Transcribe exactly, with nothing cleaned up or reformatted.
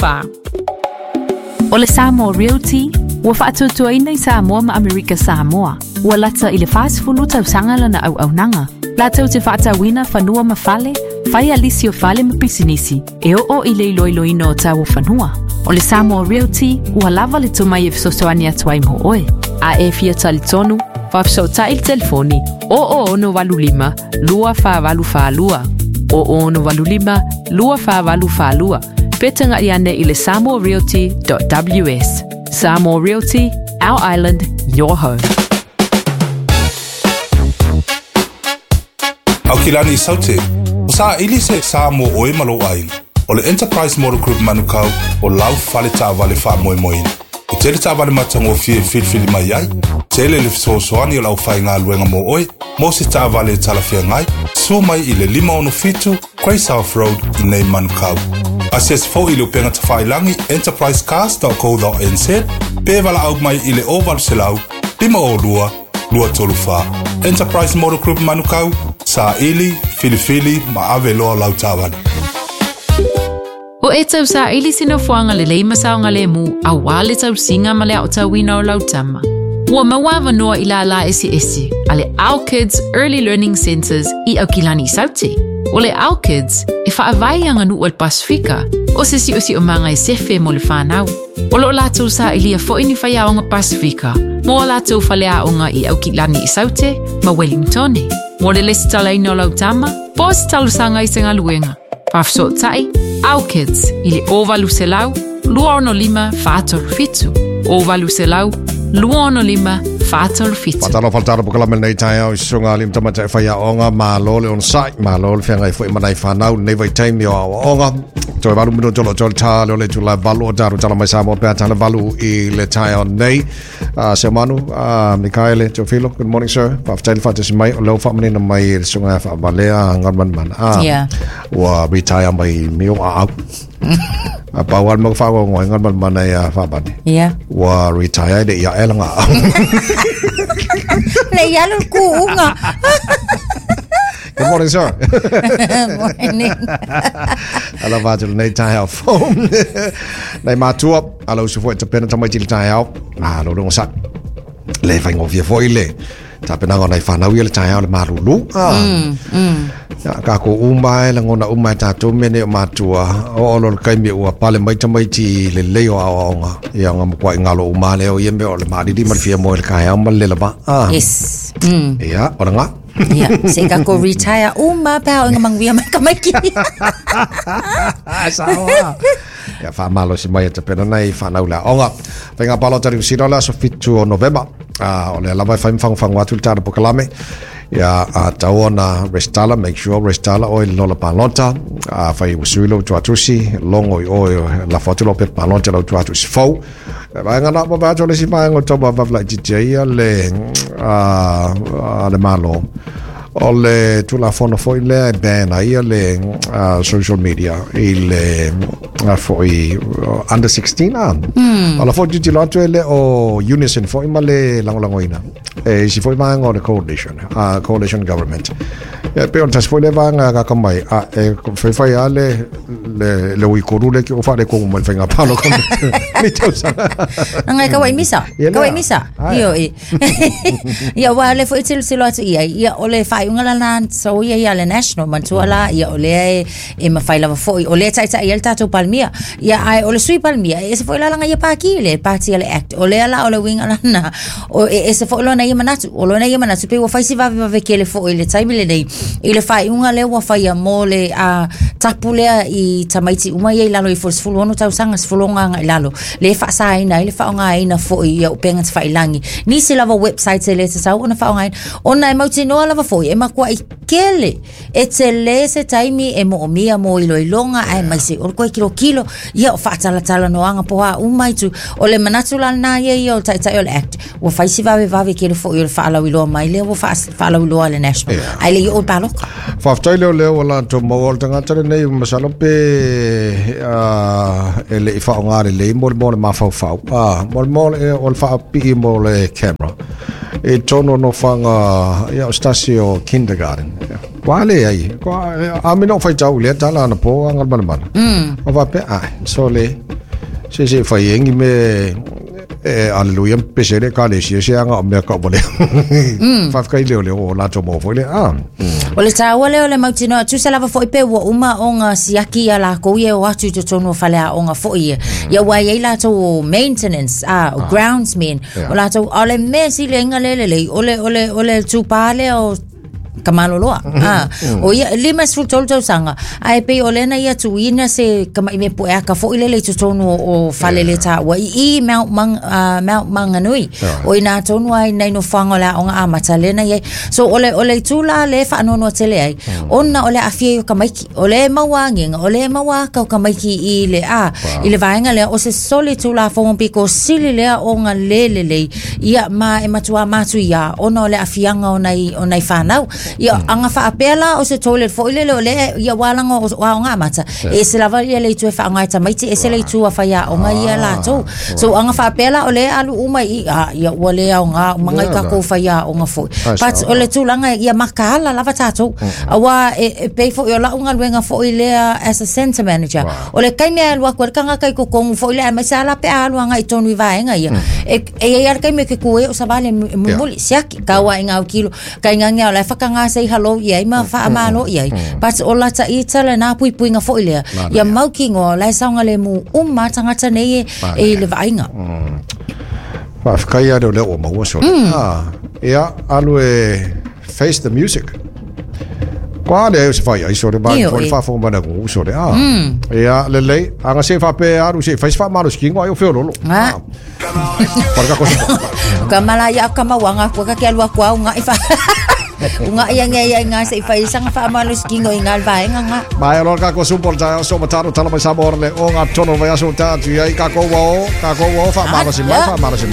fa. O le Samoa Realty, ua faatuatuaina i Samoa ma Amerika Samoa. Ua lata i le fasefulu tausaga lana auaunaga. Latou te faatauina fanua ma fale, faia lisi o fale ma pisinisi, e oo i le iloiloina o tau o fanua. O le Samoa Realty, ua lava le tomai e fesoasoani atu ai mo oe. A e fia talitonu, faafesootai i le telefoni o o ono valu lima, lua fa valu fa lua. O o ono valu lima, lua fa valu fa lua. Pe tagai ane i le samoa realty dot w s. Samoa Realty, our island, your home. Aukilani i Saute, o sa ili se sa mo oe malo aina. O le Enterprise Motor Group Manukau o lau fale taavale faamoemoeina. E tele taavale matagofie e filifili mai ai, tele le fesoasoani o le aufaigaluega mo oe, mo se taavale e talafeagai, sua mai i le lima ono fitu, Grey South Road i nei Manukau. Asiasi foi i le upega tafailagi enterprise cars dot co dot n z pe valaau mai i le o valu selau, lima o lua, lua tolu fa. Enterprise Motor Group Manukau, sa ili, filifili, ma ave loa lau taavale. O e tau sa ili sina fuanga le leima saonga le mu a wale tau singa ma le au tauina o lau tama. Ua maua noa i la la esi esi, a le Our Kids Early Learning Centers i Aukilani Saute. O le Our Kids e whaavai anga nu o le Pasifika, o se si o si o manga e sefe mo le whanau. O lo lātou sa ilia fo ini whai aonga Pasifika, mo a lātou whale aonga i Aukilani i Saute, ma Wellingtone. Mo le lesi talaina o lau tama, po se talusanga i se ngaluenga. Whafso tai, Our Kids, i le o valu selau, lua ono lima, whātolu fitu. O valu selau, lua ono lima, whātolu fitu. Whātalo whaltaro pokala mele nei tai au i sunga alim tamata e whai aonga, ma lo le on sai, ma lo le whianga i fui manai whanau, nei vai taimi o aonga. Toi valu mino tolo tolo tā, leo le tula valu o tāru tala mai Samoa pēa tāna valu i le tai au nei. Uh, se manu, uh, Mikaele Teofilo, good morning sir. Whaftaili whatasi mai, o leo whaamanina mai i le sunga e whaamalea ngarman mana. Ah, yeah. Ua retire mai mio a au. A pau al mau whaongo ngoi ngarman mana ia whaabane. Yeah. Ua retire le ia elanga au. Le ia lo kuunga. Good morning, sir. Morning. Ala vātu nei tai au phone. Nei mātua, ala usu foi te pena tamai tili tai au. Ah, lo runga sa. Le whai ngōwhia foi le. Ta penanga nei whanau ia le tai au le marulu. Ah. Mm, mm. Ya, ka ko umai, la ngona umai tātou mene o mātua. O olo le kaimi ua pale mai tamaiti le leo au aonga. Ia nga mkwa ingalo uma leo ia me o le maariri ma le fia moe le kai au ma le lava. Ah. Yes. Mm. Ia, ora ngā. Ia, se ka ko retire uma pā o nga mangwia mai ka maiki. Sawa. Ia, whaamalo si mai e te pena nei whanau la onga. Whainga palo tari usira la so fitu o Novemba. Ah, o le lava e whaim whangu atu le tāna pokalame. Ia, a tauona restala, make sure restala oi lola palota. A whai usuilo tuatusi, longo i oi la whatu pe palota lau tuatusi fau. Vaenga na pa vaatu le si vaenga o tau vavla i titia ia le, a, a le malo. O le tulafono foi lea e ban ai ia le uh, social media i le uh, foi uh, under sixteen a. Mm. O la foi titilo atu e le o Unison foi ma le langolangoina. E si foi vaenga o le coalition, uh, coalition government. Ia pe o le tasi foi le vaenga kaka mai a e whaiwhai a le le le uikoru le ki o whare kongu mai whainga palo ka mi tausanga. Ngai ka wai misa, ka wai misa. Io e. Ia wa le foi tilo tilo atu ia, ia o le whai unga la so ia ia le national mantua la ia o le e mawhai lava foi o le taitai ia le tātou palmia. Ia ai o le sui palmia e se foi la langa ia pāki le pāti le act. O le ala o le winga lana o e se foi lona ia manatu, o lona ia manatu pe ua whai si vave vave ke le foi le taimi le nei. I le whai unga le ua whai a mō le a tapu lea i tamaiti uma ia i lalo i fo sefulu ono tausaga sefulu ono i lalo le faasaina i le faaaogaina foi ia upega tafailangi nisi lava website e le tatau ona faaaogaina ona e mautinoa lava foi e makuai kele e tele se taimi e moomia mo iloiloga ae maise o le koe kilokilo ia o faatalatala poa uma itu o le manatu lana ia ia o le taitai o le act ua faisi vavevave kele foi o le faalauiloa mai lea ua faalauiloa le national ae le i o le paloka. Faafetai leo leo o latou maua o le tagata lenei masalo pe e le i faaaoga lelei mo le mo le mafaufau mo le mo le o le faapii mo le camera e tono no fanga ia o stasi o kindergarten wa le ai a me no faitau le tala na po anga mana mana o va pe ai so le Se se fai engi me e aleluia pese le ka le sia se anga o mea ka o le. Faafetai leo leo o latou maua foi le a. O le taua lea o le mautinoa tusa lava fo'i pe ua uma ona siaki ia lakou ia o atu i totonu o faleaoga fo'i ia. Ia ua iai latou o maintenance a o groundsmen o latou a o le mea siliaina lea lelei o le o le o le tupā lea o Kamaloloa. Ah, o ia lima sefulu tolu tausaga ae pei o lea na ia tuuina se kama'i mea pueaka fo'i lele i totonu o, o fale le taua i i Mount, Mang, uh, Mount Manganui o ina tonu ai nai nofoaga o le aoga amata lea na iai. So o le, o le itu la le faanoanoa tele ai ona o le aafia ai o tamaiti o le maua agiga o le maua aka o tamaiti i le a i le vaega lea o se soli tulafono piko sili lea ona lē lelei ia ma e matuā matuiā ona o le aafiaga o nai o nai fanau. Ia aga faapea la o se toilet fo'i lele o le ia ualaga o aoga amata e ese lava ia le itu e faaaoga e tamaiti ese le itu a faiaoga ia latou. So aga faapea la o le alu uma i a ia ua le aoga maga i takou faiaoga fo'i. But o le tulaga ia makaala lava tatou auā e, e pei fo'i o la'u galuega fo'i lea as a center manager o le taimi e alu atu ai le tagata i totonu fo'i lea aemaise a la pe a alu aga'i tonu i vaega ia e e iai a le taimi e ke ku ai o savali e mulimuli siaki taua'iga autilo kaigage o lae fakaga sei hello i ai ma faamalo i ai. But o lata ita lena puipuiga fo'i lea ia mautinoa o lae saogalemu uma tagata nei e e i le vaaiga. Faafetai ia leo lea ua maua sole. Ah, ia alu e face the music. Kua le se fai ai sole ba Io fo le e. faafofoga mai le atunuu sole. Ah. Ia lelei aga se faapea alu se fai se faamalosikiga ai o feololo. Ah. Pale ka kosi. Ka mala ia ka mauaga kua ka ke alu atu au uga'i fa uga'i age ai ai ga se'i faisaga faamalosikiga i ga le vaega ga. Mai alo ka ko supo ta so mataro tala mai sa le o ngā tono vai aso ta tu ai ka ko wa o ka ko wa o faamalosi mai faamalosi